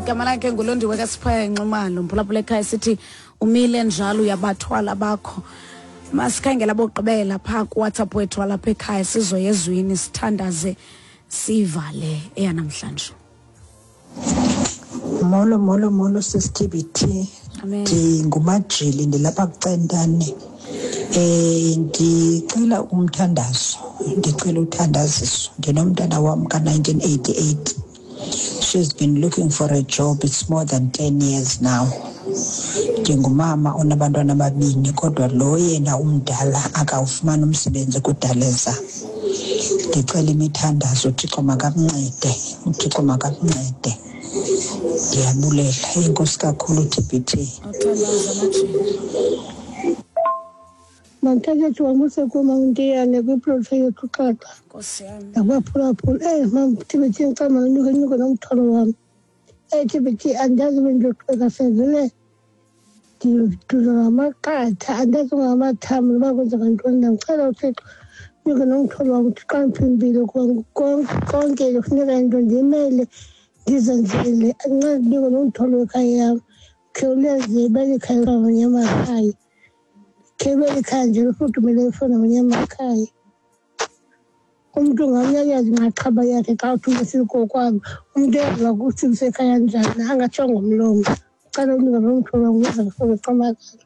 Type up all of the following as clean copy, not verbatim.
Igama lakhe nguLondiwe kaSiphaya Nxumalo, mphulaphula ekhaya, sithi umile njalo uyabathwala bakho. Masikhangela bokugqibela phaa kuWhatsApp wethu walapha ekhaya, sizoya ezwini, sithandaze, sivale eyanamhlanje. Molo, molo, molo, sisiTBT. Amen. Ndingumajili, ndilapha kuCentane. Ndicela umthandazo, ndicela uthandaziso. Ndinomntana wam ka-1988. She's been looking for a job. It's more than 10 years now. Ndingumama onabantwana ababini, kodwa lo yena umdala akawufumani umsebenzi kudaleza. Ndicela imithandazo, uThixo makamncede, uThixo makamncede. Ndiyabulela, enkosi kakhulu TBT. Awuthandaza, Majili. Mandithathe wamuse kuma uNtiyane kwiprojekthi yethu xaxa. Nkosi yam. Nakubaphulaphula. Mam TBT, ngicela manyuke nyuke nomthwalo wam. TBT, andazi bendiyoqhubeka sevele ndiduza ngamaqatha, andazi ngamathambo noba kwenzeka ntoni. Ndiyamcela uThixo nyuke nomthwalo wam, uThixo andiphe impilo, kuba konke kufuneka into ndimele ndizenzele. Ancede ndinike nomthwalo wekhaya yam. Khawuleze belikhaya ngamanye amakhaya. Khe belikhaya nje lifudumele lifana namanye amakhaya. Umntu ngamnye ayazi inxaxheba yakhe xa uthi unesikokwabo. Umntu uyaziwa ukuthi usekhaya njani, angatsho ngomlomo. Cela unika nomthwalo wam ukuze ndifune uqamakala.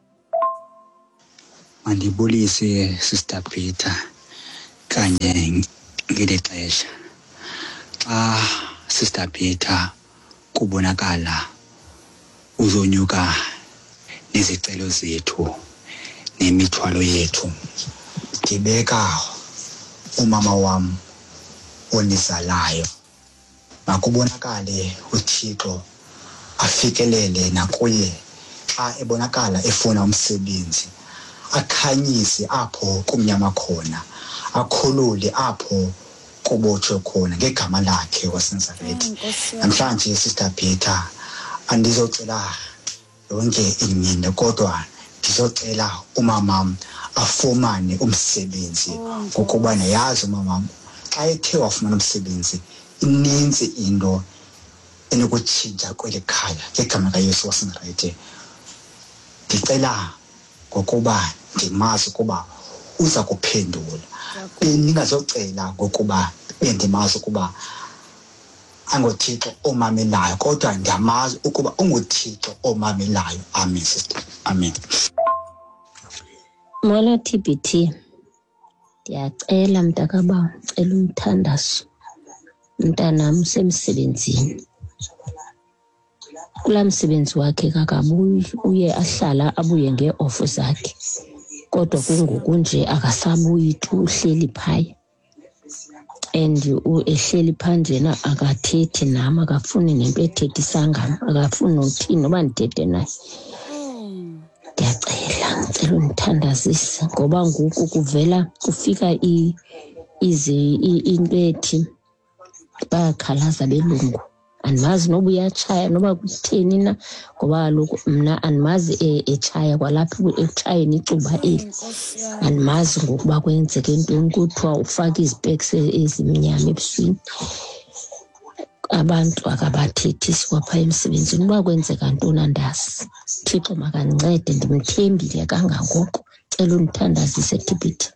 Mandibulise, Sister Peter, kanye ngeli xesha. Xa, Sister Peter, kubonakala uzonyuka nezicelo zethu nemithwalo yethu, ndibeka umama wam onizalayo. Makubonakale uThixo afikelele nakuye xa ebonakala efuna umsebenzi, akhanyise apho kumnyama khona, akhulule apho kubotshwe khona ngegama lakhe waseNazaretha. Nkosi yam. Namhlanje, Sister Peter, andizocela yonke imini, kodwa ndizocela umamam afumane umsebenzi, ngokuba ndiyazi umamam xa ethe wafumana umsebenzi inintsi into enokutshintsha kweli khaya ngegama kaYesu waseNazaretha. Ndicela ngokuba ndimazi ukuba uza kuphendula. Bendingazocela ngokuba bendimazi ukuba anguThixo omamelayo, kodwa ndiyamazi ukuba unguThixo omamelayo. Amen, sister. Amen. Molo TBT. Ndiyacela mntakabawo, ndicela umthandazo. Umntanam usemsebenzini. Kulaa msebenzi wakhe kakabuyi, uye ahlala abuye ngee-off zakhe. Kodwa kungoku nje akasabuyi tu, uhleli phaya. And ehleli phaa njena akathethi nam, akafuni nento ethethisa ngam, akafuni nothini noba ndithethe naye. Ndiyacela, ndicela undithandazise ngoba ngoku kuvela kufika into ethi bayakhalaza abelungu. Andimazi noba uyatshaya noba kutheni na, ngoba kaloku mna andimazi etshaya kwalapha ekutshayeni icuba eli. Andimazi ngokuba kwenzeke ntoni, kuthiwa ufake izipeks ezimnyama ebusweni. Abantu akabathethisi kwapha emsebenzini, uba kwenzeka ntoni andazi. Thixo makandincede, ndimthembile kangangoko. Cela undithandazise, TBT.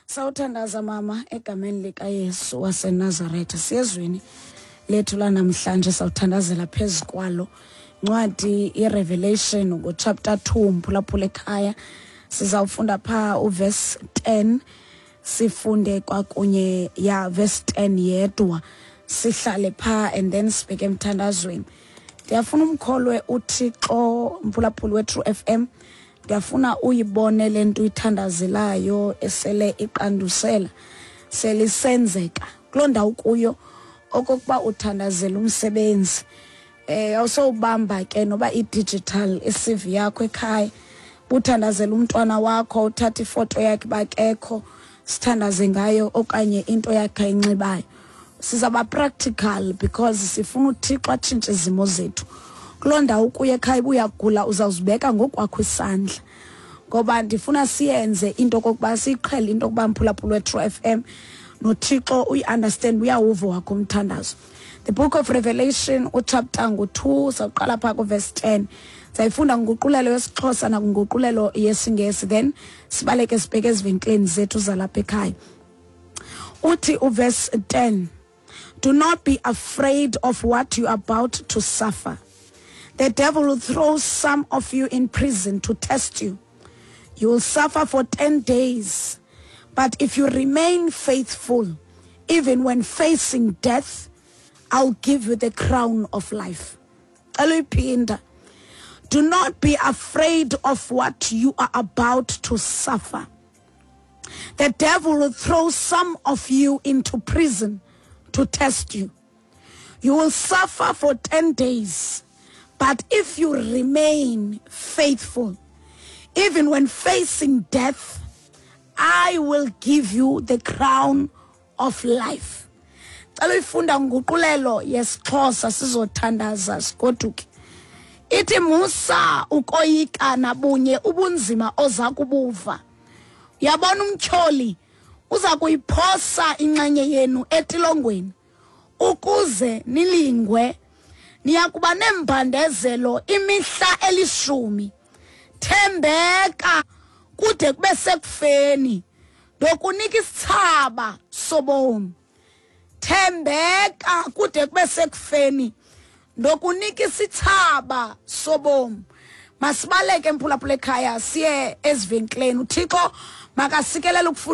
Sawuthandaza mama egameni likaYesu waseNazaretha. Siyezwini lethu lanamhlanje, sawuthandazela phezu kwalo. Ncwadi iRevelation ngochapter 2, mphulaphula ekhaya. Sizawufunda phaa uverse 10, sifunde kwakunye ya verse 10 yedwa, sihlale phaa and then sibheke emthandazweni. Ndiyafuna umkholwe uThixo, mphulaphuli weTrue FM. Ndiyafuna uyibone le nto uyithandazelayo esele iqandusela, selisenzeka kuloo ndawo kuyo, okokuba uthandazela umsebenzi. Awusowubamba ke noba i-digital i-CV yakho ekhaya, uthandazela umntwana wakho, uthatha ifoto yakhe bakekho, sithandaze ngayo, okanye into yakhe ayinxibayo. Sizaba practical because sifuna uThixo atshintshe izimo zethu. Kuloo ndawo kuye ekhaya, ubuyagula, uzawuzibeka ngokwakho isandla. Ngoba ndifuna siyenze into okokuba siyiqhele into yokuba mphulaphula weTrue FM noThixo uyi-understand, uyawuva wakho umthandazo. The Book of Revelation uchapter ngu-2, sawuqala phaa kuverse 10. Sayifunda nguqulelo yesiXhosa nakunguqulelo yesiNgesi, then sibaleke sibheke ezivenkileni zethu zalapha ekhaya. Uthi uverse 10, do not be afraid of what you are about to suffer. The devil will throw some of you in prison to test you. You will suffer for 10 days. But if you remain faithful, even when facing death, I'll give you the crown of life. Cela. Do not be afraid of what you are about to suffer. The devil will throw some of you into prison to test you. You will suffer for 10 days. But if you remain faithful, even when facing death, I will give you the crown of life. Cela uyifunda nguqulelo yesiXhosa, sizothandaza sigoduke. Ithi musa ukoyika nabunye ubunzima oza kubuva. Yabona, umtyholi uza kuyiphosa inxenye yenu etilongweni ukuze nilingwe. Niyakuba nembandezelo imihla elishumi. Thembeka kude kube sekufeni, ndokunika isithaba sobomi. Thembeka kude kube sekufeni, ndokunika isithaba sobomi. Masibaleke, mphulaphula ekhaya, siye ezivenkileni. UThixo makasikelele ukufunda.